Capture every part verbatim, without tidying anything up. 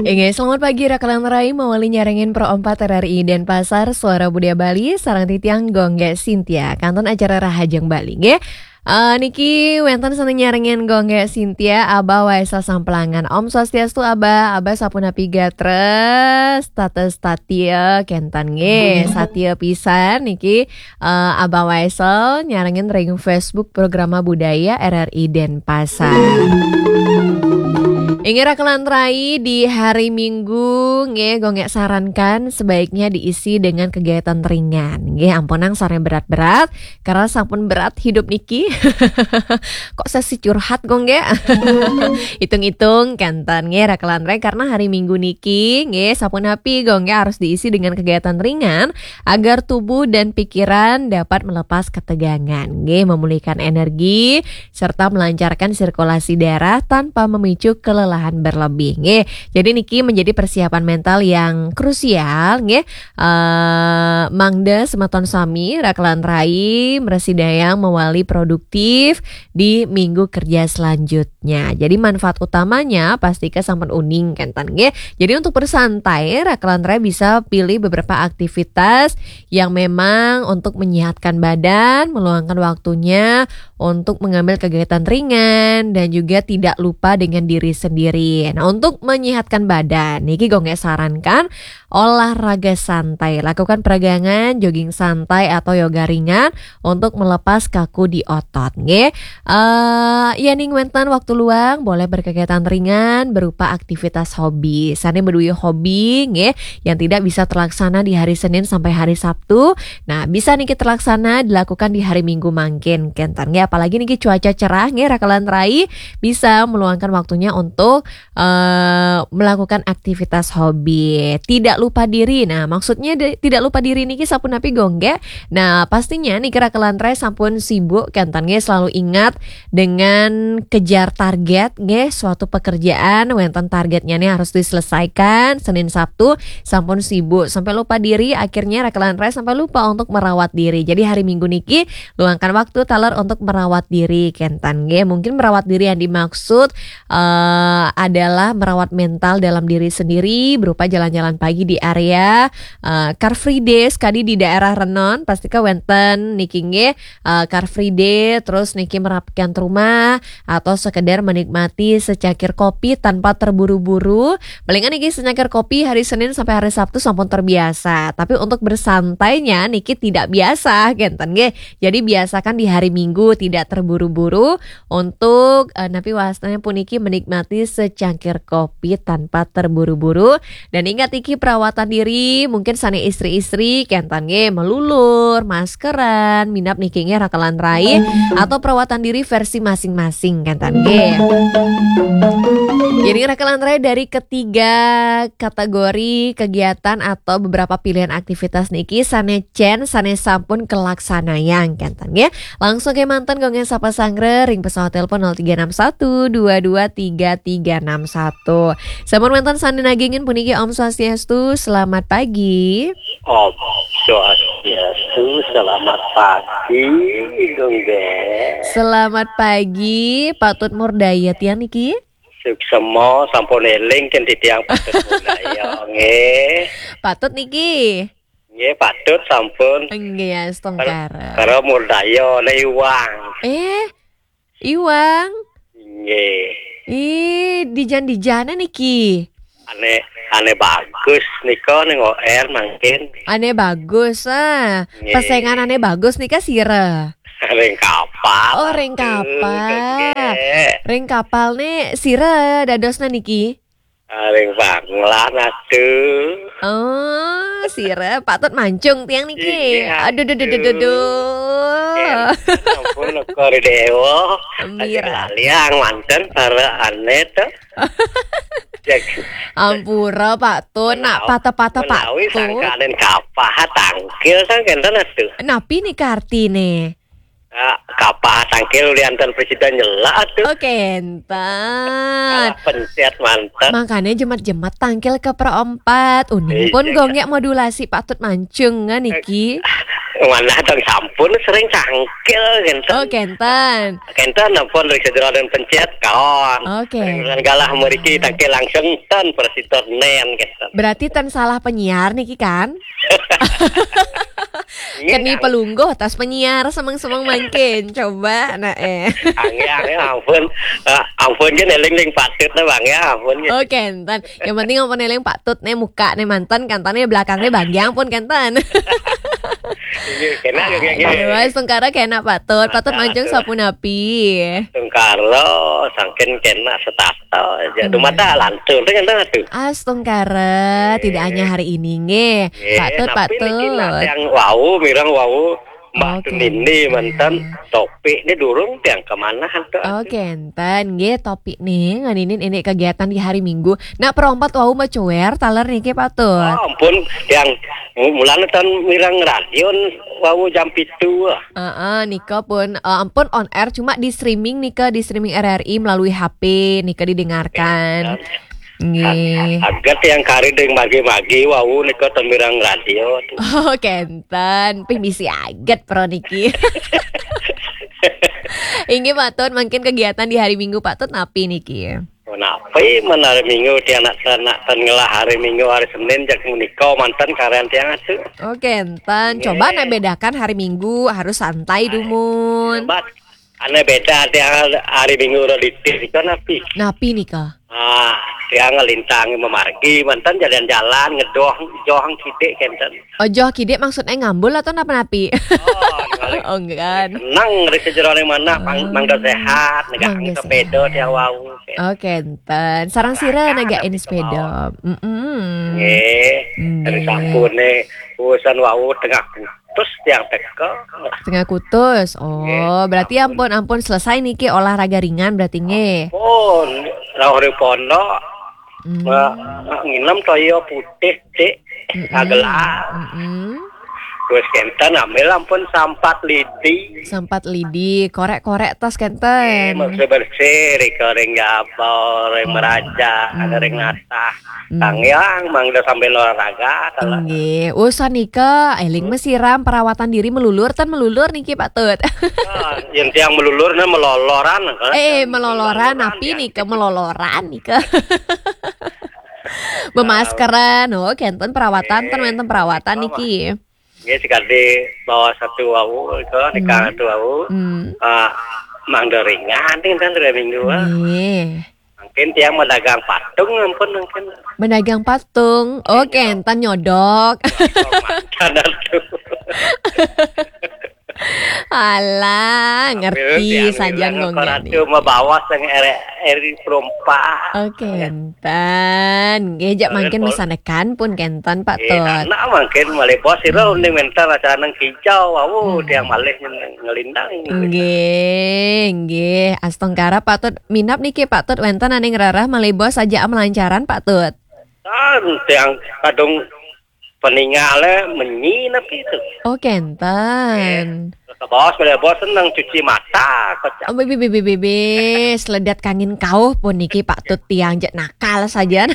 Inggih, selamat pagi, Raka lan Rai, mawali nyarengin Pro empat R R I Denpasar, Suara Budaya Bali, sareng titiang Gung Gé Sintia. Kantun acara Rahajeng Bali, nggih. Eh, niki wénten sané nyarengin Gung Gé Sintia, Abah Waisel Samplangan. Om Swastiastu, Abah. Abah sapunapi gatra, status satia kénten, nggih. Satia pisan niki, eh, Abah Waisel nyarengin ring Facebook Programa Budaya R R I Denpasar. Inggih, Raka lan Rai, di hari Minggu, nggih, Gung Gé sarankan sebaiknya diisi dengan kegiatan ringan, nggih, ampunang sané berat-berat, karena sampun berat hidup niki. Kok sesi curhat, Gung Gé? Hitung-hitung, kénten, nggih, Raka lan Rai, karena hari Minggu niki, nggih, sapunapi, Gung Gé, harus diisi dengan kegiatan ringan agar tubuh dan pikiran dapat melepas ketegangan, nggih, memulihkan energi, serta melancarkan sirkulasi darah tanpa memicu kelelahan berlebih, nggih. Jadi niki menjadi persiapan mental yang krusial, nggih. Eh, mangda semeton sami, Raka lan Rai, mrasidayang mawali produktif di minggu kerja selanjutnya. Jadi manfaat utamanya pastika sampun uning, kénten, nggih. Jadi untuk bersantai, Raka lan Rai bisa pilih beberapa aktivitas yang memang untuk menyehatkan badan, meluangkan waktunya untuk mengambil kegiatan ringan, dan juga tidak lupa dengan diri sendiri. Nah, untuk menyehatkan badan, niki Gung Gé sarankan olahraga santai, lakukan peregangan, jogging santai atau yoga ringan untuk melepas kaku di otot, nggih. Eh, yéning wénten waktu luang, boleh berkegiatan ringan berupa aktivitas hobi. Sané madué hobi, nggih, yang tidak bisa terlaksana di hari Senin sampai hari Sabtu, nah, bisa niki terlaksana dilakukan di hari Minggu mangkin, kénten, nggih. Apalagi niki cuaca cerah, nggih, Raka lan Rai, bisa meluangkan waktunya untuk, eh, melakukan aktivitas hobi. Tidak lupa diri. Nah, maksudnya de-, tidak lupa diri niki sapunapi, Gung Gé? Nah, pastinya niki, Raka lan Rai, sampun sibuk, kénten, nggih, selalu ingat dengan kejar target, nggih, suatu pekerjaan, wénten targetnya nih harus diselesaikan, Senin Sabtu sampun sibuk, sampai lupa diri, akhirnya Raka lan Rai sampai lupa untuk merawat diri. Jadi hari Minggu niki luangkan waktu taler untuk merawat diri, kénten, nggih. Mungkin merawat diri yang dimaksud, eh, adalah merawat mental dalam diri sendiri berupa jalan-jalan pagi di area, eh, Car Free Day, sekadi di daerah Renon, pastika wénten niki, nggih, eh, Car Free Day, terus niki merapikan rumah, atau sekedar menikmati secangkir kopi tanpa terburu-buru. Palingan niki secangkir kopi hari Senin sampai hari Sabtu sampun terbiasa. Tapi untuk bersantainya niki tidak biasa, kénten, nggih. Jadi biasakan di hari Minggu tidak terburu-buru untuk, eh, napi wastanya puniki menikmati secangkir kopi tanpa terburu-buru. Dan ingat niki perawatan diri, mungkin sané istri-istri, kénten, nggih, melulur, maskeran, minab niki, nggih, Raka lan Rai, atau perawatan diri versi masing-masing, kénten, nggih. Jadi Raka lan Rai, dari ketiga kategori kegiatan atau beberapa pilihan aktivitas niki sané cén, sané sampun kalaksanayang, kénten, nggih. Langsung kémanten Gung Gé sapa sanggra ring pesawat telepon nol tiga enam satu dua dua tiga tiga enam satu. Sampun wénten sané nagingin puniki, Om Swastiastu, selamat pagi. Om Swastiastu, selamat pagi, Gung Gé. Selamat pagi, Patut Murdaya tiang niki. Suksma, sampun éling kan titiang Patut Murdaya, nggih. Patut niki. Nggih, Patut sampun. Nggih, ya, setengkara. Para Murdaya, le Iwang. Eh, Iwang. Nggih. Ih, dijan-dijané niki. Ané, Ané Bagus nika ning O R mangkin. Ané Bagus, ah. Nggih. Pesengan Ané Bagus nika sira? Ring kapal. Oh, ring kapal. Nggih. Ring kapal né sira dadosna niki? Ah, ring Banglan, aduh. Oh, sira Patut mancung tiang niki. Iya, aduh, duh, duh, duh, duh, duh. Ampun, Kori Dewa. Mira. Laliang manten para Ané to. Ampura, Patut, nak patah-patah, Patut. Menawi sangkaning kapah tangkil, sangkenten, aduh. Napi nika artiné? Ah, kapah tangkil ulian ten presiden nyela tuh. Oh, kenten. Kalah pencet manten. Makanya jemat-jemat tangkil ke perempat. Uning pun gonggek modulasi patut mancung ngan niki. Mana tong sampun sering tangkil kenten. Oh, kenten. Kenten ampun dari sejero dan pencet kaon. Oh, kenten. Galah meriki tangkil langsung ten presiden nen kenten. Berarti ten salah penyiar niki kan? Keni pelungguh tas penyiar semeng-semeng mangkin. Coba nah eh. Angge, angge, ampun. Ah, ampun kan eling-eling patut nah, Bang, ya, ampun. Oh, kenten. Yang penting ampun eling patut nih muka nih manten, kantan nih belakang nih bagi ampun kenten. Iya, kena, iya, iya. Astungkara kena patut, patut mancung sapunapi. Astungkara sangkin kena setata aja. Dumada lantur dengan tuh. Astungkara, tidak hanya hari ini nggih. Patut, patut. Yang wau, mireng wau. Mbak Tunini manten topik ini durung tiang kemana tuh? Oh, kenten nggih, topik nih nganinin ini kegiatan di hari Minggu. Nah, perompat wau macuer taler niki patut. Oh, ampun, tiang mu-, mulane tan mireng radio wau jam pitu. Heeh, nika pun, eh, ampun on air cuma di streaming nika, di streaming R R I melalui H P nika didengarkan. Nggih. Aget yang kari deng magi-magi wau nika ten mireng radio. Oh, kenten. Pih misi aget pro niki. Inggih patut mungkin kegiatan di hari Minggu patut napi niki? Oh, napi men hari Minggu tiang nak, nak ten ngelah hari Minggu, hari Senin jak menika manten karen tiang atuh. Oh, kenten. Coba nak bedakan hari Minggu harus santai dumun. Ane beda tiang hari Minggu udah ditis itu napi? Napi nika? Ah, tiang ngelintang memargi manten jalan-jalan ngedoh joh kidik kenten. Oh, joh kidik maksudnya ngambul atau napa napi? Oh, ngalih. Oh, enggak. Seneng di sejerone mana mang-, mangga sehat, negak sepeda tiang wau. Oh, kenten. Sarang sira negain sepeda. Mm-mm. Nggih. Nggih. Dari sampune urusan wau tengah kutus tiang teka. Tengah kutus. Oh, nggih, berarti ampun, ampun selesai niki olahraga ringan berarti nggih. Ampun, rauh di pondok. Hmm. Nginem toyo putih, Dik. Mm-mm. Agelar. Mm-mm. Terus kenten ambil ampun sampat lidi. Sampat lidi, korek-korek tas kenten. Bersih-bersih, rika ring jabal, ring meraja, ada ring natah. Tangyang, mangda sambil olahraga, talah. Nggih, usan nika, eling mesiram perawatan diri melulur, tan melulur niki patut. Ah, yang tiang melulur, nah meloloran, kan? Eh, meloloran, napi nika meloloran nika. Bemaskeran, oh, kenten perawatan, ten wenten perawatan niki. Nggih, sekali bawa satu wau, itu, nikah satu wau. Hmm. Ah, mangda ringan, nih, kan, dua minggu, ah. Nggih. Mungkin tiang medagang patung, ampun, mungkin. Medagang patung, oh, kenten nyodok. Mantan atuh. Alah, ngerti saja ngomongnya. Ratu mabawas yang eri, eri perompak. Oh, kenten. Nggih, jak mangkin misanekan pun kenten, Pak Tut. Anak mangkin malih bos, sira mending mental acara nang kijau, awu, tiang malih ngelindang. Nggih, nggih. Astungkara, Pak Tut. Minap niki, Pak Tut, wenten aning rereh malih bos aja melancaran, Pak Tut. Kan tiang kadung peningale menyi napi itu. Oh, kenten. Ke bos, pada bos seneng cuci mata, kocak. Oh, bibi, bibi, bibi, seledat kangin kauh pun niki Pak Tut tiang jak nakal saja.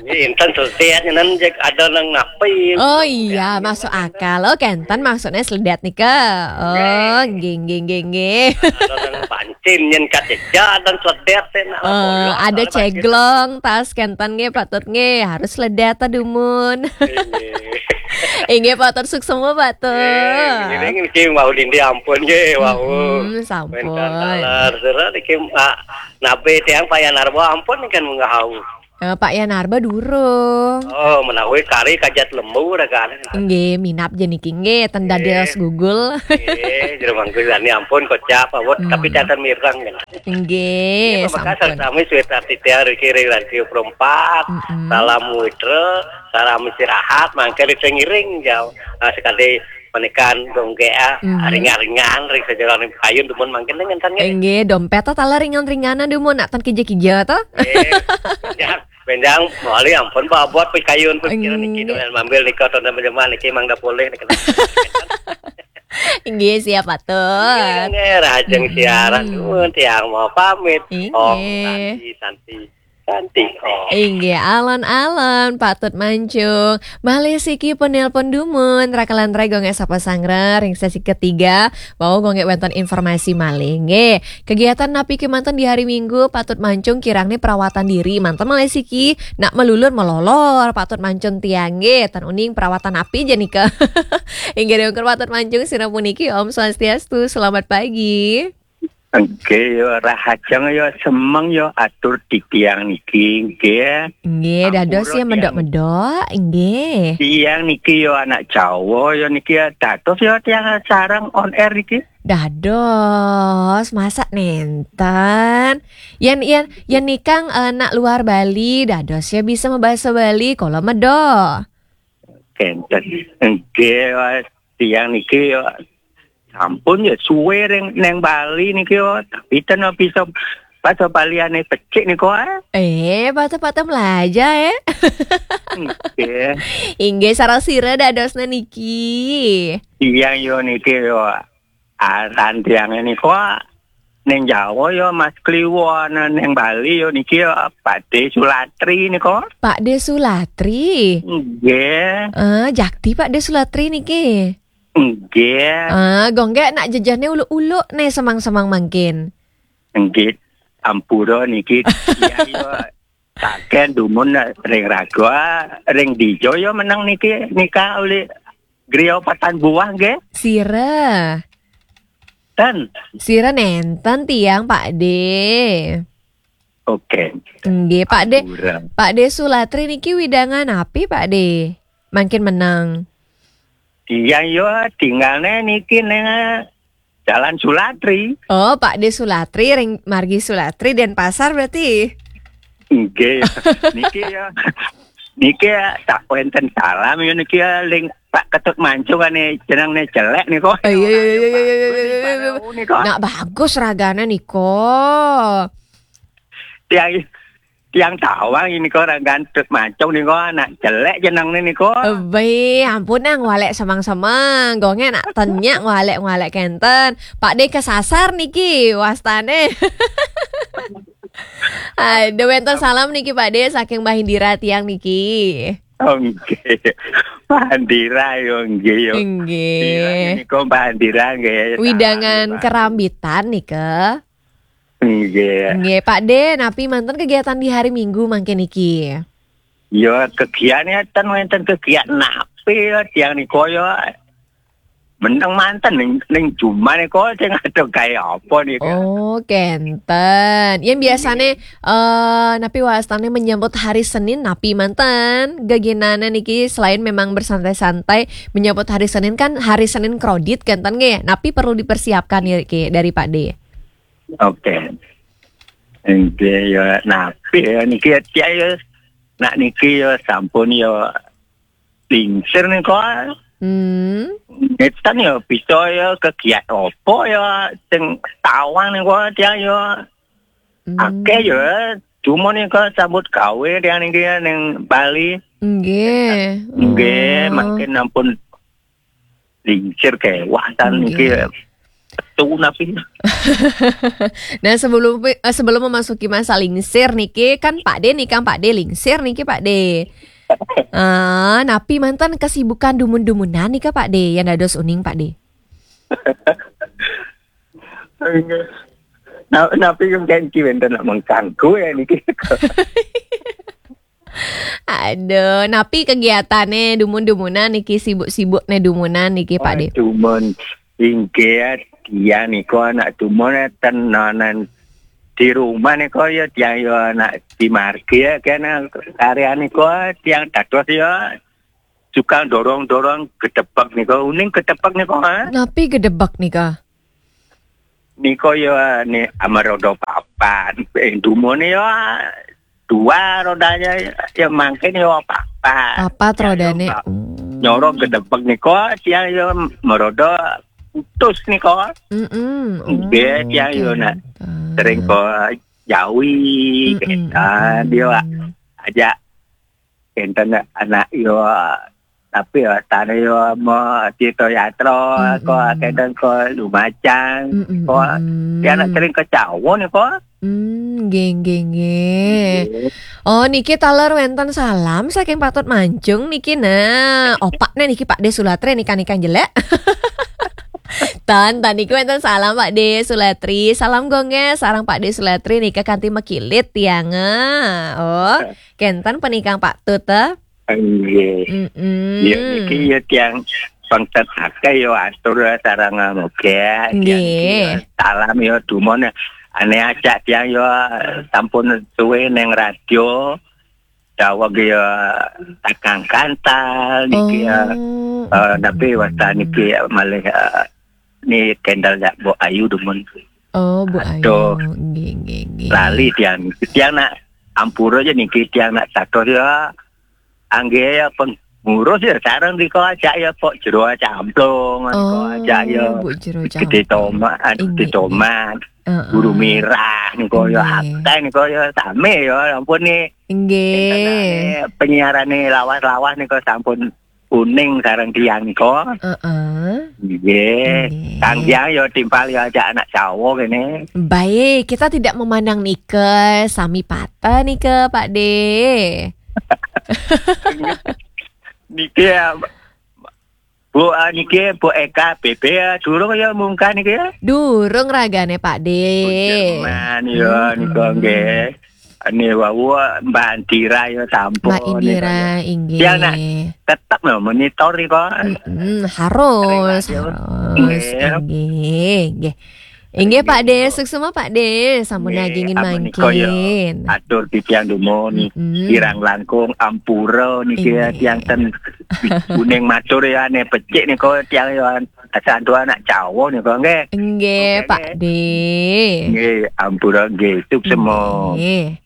Ini inten seledat, nyenan jak ada nang napi. Oh iya, masuk akal. Oh, kenten maksudnya seledat nika. Oh, nggih, nggih, nggih, nggih. Ada nang pancin, nyen kaceja, dan seledat, teh, nak. Oh, ada ceglong, tas kenten nggih, Pak Tut nggih, harus seledat ta dumun. Inggih. Inggih, Pak Tut, suksma, Pak Tut. Inggih, inggih, mau dindi ampun nggih, wau. Hmm, sampun. Mentan taler, sira niki, ah, nabe tiang Pak Yanarba ampun kan munggah hau. Eh, Pak Yanarba durung. Oh, menawi kari kajat lembu rakan. Nggih, minap je niki nggih, ten dadel segugul. Nggih, jero mangku sani ampun kocap awet, tapi catet mireng kan. Nggih, sampun. Sami Swetar Titiar iki ring Radio Pro empat. Salam Witra, salam istirahat, mangke sing ngiring jauh. Ah, sekali menika gonggek, ah, ringan-ringan ring sajeroning kayun dumun mangkin dengan tanya. Nggih, dompet ta taler ringan-ringanan dumun nak ten kija-kija ta? Nggih. Ya, benjang mali ampun babot pikayun pikiran niki dengan mambil nika tonton menjeman niki mangda polih nika. Inggih, siap, Patut. Inggih, rahajeng siaran nuwun, tiang mau pamit. Inggih. Om Santi, Santi, Santi, Om. Inggih, alon-alon, Patut Mancung. Malih siki penelpon dumun, rakalan rai Gung Gék sapa sangra ring sesi ketiga. Wau Gung Gék wénten informasi malih. Nggih, kegiatan napi kémanten di hari Minggu, Patut Mancung kirang nih perawatan diri. Manten malih siki, nak melulur melolor, Patut Mancung tiang nggih. Tan uning perawatan napi ja nika. Inggih, dongker Patut Mancung sira puniki, Om Swastiastu, selamat pagi. Nggih, yo rahajeng yo semeng yo atur titiang niki, nggih. Nggih, dados ya medok-medok, nggih. Tiang niki yo anak Jawa yo niki ya dados yo tiang sareng on air niki. Dados, masa nenten. Yen yen yen nikang eh, nak luar Bali, dados ya bisa mabasa Bali, kula medok. Kenten. Nggih, Mas. Tiang niki yo sampun ya suwe ring neng Bali niki yo, tapi ten bisa pas Baliane becik niku, ah. Eh, patah-patah melaja, eh. Nggih. Inggih, sareng sira dadosna niki. Tiang yo niki yo aran tiange niku, ah, neng Jawa yo Mas Kliwon, neng Bali yo niki yo Pakde Sulatri niku. Pakde Sulatri? Nggih. Eh, jakti Pakde Sulatri niki? Nggih. Ah, Gung Gék nak jejehne uluk-uluk ne semang-semang mangkin. Nggih, ampura niki. Tiang yo saken dumun ring raga, ring dija yo meneng niki nika uli griya patan buah nggih. Sira. Ten. Sira nenten tiang, Pakde. Oke. Nggih, Pakde. Ampura. Pakde Sulatri niki widangan napi, Pakde? Mangkin meneng. Tiang yo tinggalne niki neng Jalan Sulatri. Oh, Pakde Sulatri ring margi Sulatri Denpasar berarti. Nggih. Niki ya. Niki ya tak wenten salam ya niki ya ling Pak Ketut Mancung ane jenengne jelek niku. Oh, iya, iya, iya, iya, iya, iya, iya, iya. Niku. Nak bagus ragane niku. Tiang, tiang tawang ini kok orang gantut Mancung niku anak jelek jenengne niku. Ebe, ampun ah, ngwalek semang-semang. Gonge nak tenyak ngwalek-ngwalek kenten. Pakde kesasar niki wastane. Aduh, wenten salam niki Pakde saking Mbah Indira tiang niki. Oh, nggih. Mbah Indira yo nggih yo. Nggih. Indira niku Mbah Indira nggih. Widangan salam, Mbah. Kerambitan nika. Nggih. Nggih, Pakde, napi manten kegiatan di hari Minggu mangke niki? Ya, kegiatan ten wenten kegiatan napi ya tiang niku ya. Meneng manten ning, ning jumah niku sing ada gawe apa niku. Oh, kenten. Yen biasane eh napi wastane menyambut hari Senin napi manten? Geginane niki selain memang bersantai-santai menyambut hari Senin kan hari Senin kredit kenten nggih. Napi perlu dipersiapkan niki dari Pakde? Oke. Nggih ya napi ya niki ya, ya nak niki ya sampun ya lingsir niku. Hmm. Ngeten ya bisa ya kegiat apa ya sing tawang niku tiang ya. Hmm. Akeh ya dumun niku sambut gawe tiang niki ning Bali. Nggih. Nggih, oh. Mangkin ampun lingsir kewatan niki. Nggih. Petu napi. Nah, sebelum eh, sebelum memasuki masa lingsir niki kan Pakde nih kan Pakde lingsir niki Pakde. Ah, napi manten kesibukan dumun-dumunan nika Pakde yang dados uning Pakde. Nggih. Nah, napi yang ganti wenten nak mengganggu ya niki. Aduh, napi kegiatane dumun-dumunan niki sibuk-sibukne dumunan niki Pakde? Oh, dumun. Inggih, tiang niku anak dumun tenanan di rumah niku ya tiang ya anak di margi ya kena karya niku tiang dados ya suka dorong-dorong gedebek niku. Uning gedebek niku, ha? Napi gedebek nika? Niku ya ni amarodo papan. Eh, dumune ya dua rodanya ya mangkin ya papat. Papat ya, rodane. Ya, Pak. Hmm. Nyorong gedebek niku tiang ya merodo putus niku. Mm-mm. Nggih, oh, tiang ya nak kenten. Sering kok jawi, mm-mm, kenten, mm-mm. Dia aja kenten anak yo tapi ya tane yo mo Tirta Yatra, Mm-mm. kok kadang kok Lumajang, Mm-mm, kok mm-mm. ya nak sering ke Jawa nih kok. Hmm, nggih, nggih, nggih. Oh, niki taler wenten salam saking Pak Tut Mancung niki nah. Opakne niki Pak De Sulatre nika nika jelek. Tan, tan niki wenten salam Pak De Sulatri. Salam gongge sareng Pak De Sulatri nika kanthi mekilit tiang. Oh, kenten penikang Pak Tut eh. Nggih. Mm-mm. Ya niki ya tiang pengtet akeh yo atur sareng moga. Nggih. Salam yo dumon ane ajak tiang yo sampun suwe neng radio. Daweg ya takang kantal niki ya. Oh. Eh, tapi wasta niki malih eh, ni kendal ya Bu Ayu dumun. Oh, Bu Aduh. Ayu. Nggih, nggih, nggih. Lali tiang. Tiang nak ampura aja niki tiang nak catur ya. Angge ya pengurus ya sareng niko ajak ya pok jero camplung niko Oh, ajak ya. Bu Jero Gede Camplung. Tomat, anu Gede Inggih. Tomat. Heeh. Guru Mirah niko ya Inggih. akeh niko ya same ya ampun nih. Nggih. Penyiarane lawas-lawas niko sampun kuning sareng tiang niko. Heeh. Nggih. Nggih. Kang Jang ya timpal ya ajak anak Jawa kene. Baik, kita tidak memandang nike sami pata nike Pak De. Niki ya Bu ah, niki Bu Eka B B ya durung ya mungkah niki ya. Durung ragane Pak De. Jerman ya Hmm. nika nggih. Ini wau Mbak Indira ya sampun. Mbak Indira, Nika. inggih. Ya, nak. Tetep lho monitor nika. Mm-mm, harus, Sering harus. Nggih. Inggih, inggih. Inggih Pak De, suksma Pak De, sampun Nggih, nagingin amun nika ya. mangkin. Atur titiang dumun. Mm-mm. Kirang langkung ampura niki ya Inggih. tiang ten kuning matur ya ane becik nika tiang ya santu anak Jawa nika nggih. Nggih, Oke, Pak nggih. De. Nggih, ampura nggih suksma. Nggih.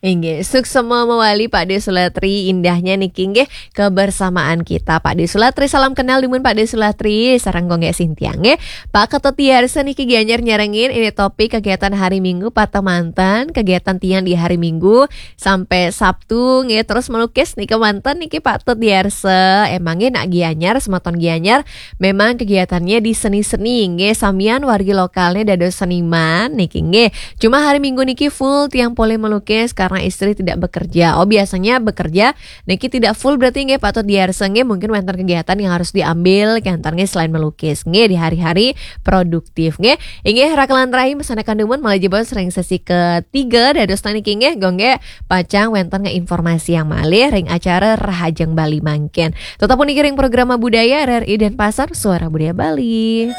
Inggih, suksma mawali Pak De Sulatri, indahnya niki nggih kebersamaan kita Pak De Sulatri. Salam kenal dumun Pak De Sulatri, sareng Gonggek Sintiang nggih. Pak Ketut Diarsa niki Gianyar nyarengin ini topik kegiatan hari Minggu Pak Temantan, kegiatan tiang di hari Minggu sampai Sabtu nggih terus melukis niki manten niki Pak Tut Diarsa. Emangnya nak Gianyar, semeton Gianyar memang kegiatannya di seni-seni nggih samian wargi lokalnya dados seniman niki nggih. Cuma hari Minggu niki full tiang polih melukis karena istri tidak bekerja. Oh, biasanya bekerja niki tidak full berarti nggih Pak Tut Diarsa nggih mungkin wonten kegiatan yang harus diambil kantor nggih selain melukis nggih di hari-hari produktif nggih. Inggih rakelan rahim sana kandumun malah jebos ring sesi ketiga dados niki nggih gongge pacang wonten nge informasi yang malih ring acara Rahajeng Bali mangkin. Tetap puniki ring program budaya R R I Denpasar Suara Budaya Bali.